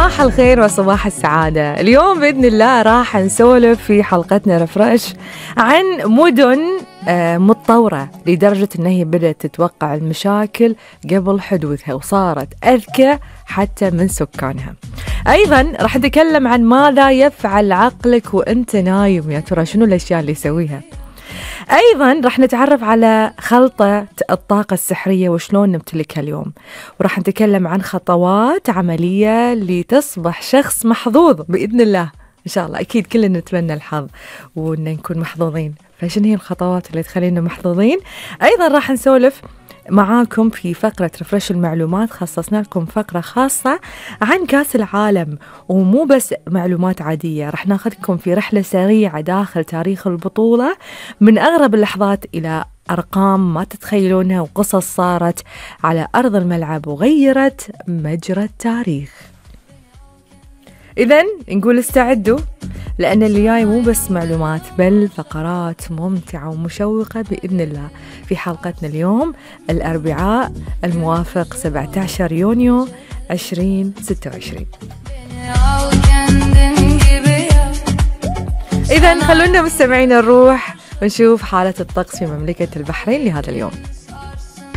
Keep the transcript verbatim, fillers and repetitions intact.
صباح الخير وصباح السعادة. اليوم بإذن الله راح نسولف في حلقتنا رفرش عن مدن متطورة لدرجة أنها هي بدأت تتوقع المشاكل قبل حدوثها وصارت أذكى حتى من سكانها. أيضا راح نتكلم عن ماذا يفعل عقلك وأنت نايم، يا ترى شنو الأشياء اللي يسويها. أيضا راح نتعرف على خلطة الطاقة السحرية وشلون نمتلكها اليوم، وراح نتكلم عن خطوات عملية لتصبح شخص محظوظ بإذن الله إن شاء الله. أكيد كلنا نتمنى الحظ وأن نكون محظوظين، فشن هي الخطوات اللي تخلينا محظوظين؟ أيضا راح نسولف معاكم في فقرة رفرش المعلومات، خصصنا لكم فقرة خاصة عن كاس العالم، ومو بس معلومات عادية، رح ناخذكم في رحلة سريعة داخل تاريخ البطولة من أغرب اللحظات إلى أرقام ما تتخيلونها وقصص صارت على أرض الملعب وغيرت مجرى التاريخ. إذن نقول استعدوا، لأن اللي جاي مو بس معلومات بل فقرات ممتعة ومشوقة بإذن الله في حلقتنا اليوم الأربعاء الموافق سبعة عشر يونيو عشرين ستة وعشرين. إذن خلونا مستمعين نروح ونشوف حالة الطقس في مملكة البحرين لهذا اليوم.